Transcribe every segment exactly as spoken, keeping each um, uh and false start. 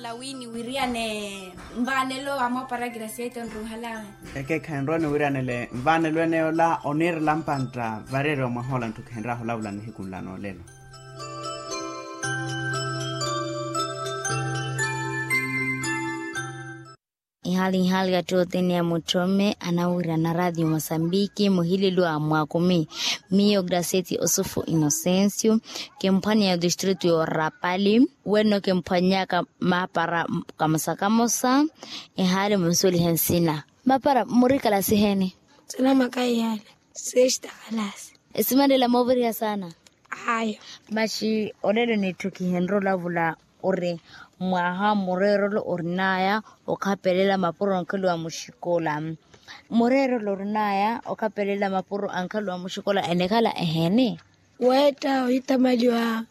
Lawini wiriyane nvaanelo amoopara graciete onruhalawe. Ekeekhayi nrowa niwiriyane le nvaanelo ene yola oniirela mpantta vareeriwa mwahoola ntthukhenryahu olavula nihiku nla noolelo. Ihali ihali attootini ya mutthome anawirana raatiyo mosambiki muhilelo a mwakumi. Miyo gracieti osufu inocencio, kimphwanya ya otistritu y'orapali. Wenno kimphwanyaka maapara kamosa kamosa. Ehali munsuwelihe nsina. Maapara murikala siheni? Sinamaka iyali sexta kalasi. Esimanela mooviriha saana. Ayo. Maxi olelo nittukihenre olavula ori mwaha mureerolo orinaya okhapelela mapuro ankhaliwa muxikola. Mureerolo orinaya okhapelela mapuro ankhaliwa muxikola enikhala eheni? Weetta ohitamaliwa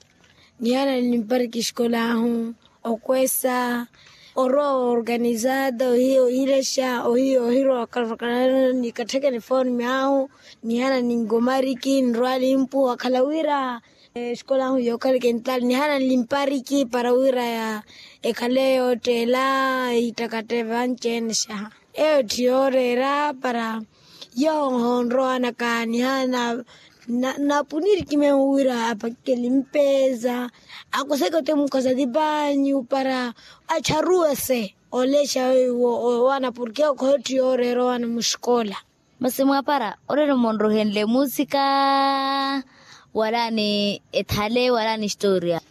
nihana nimpariki xikolahu, okwesa, orwa oorganizada ohiya ohilexa ohiya ohirwa okarvakanana nikattheke nifooni myahu. Nihana ninkomariki nirwali mpuwa khala wira exikolahu yookhaleke ntaali nihana nimpariki para wira ekhale yootteela. Ehittakatteeve anci-ene xaha. Eyo tthi yooreera para yoho onrowanaka nihana napuniriki meho wira apakikele mpeeza. Akuseke ote mukhosa tipanyu para acharuwese olexa weiwo owana porke okhoyo tthi yooreera owana muxikola. Masi mwaapara olelo munruhenle musika wala ni ethale wala ni historia?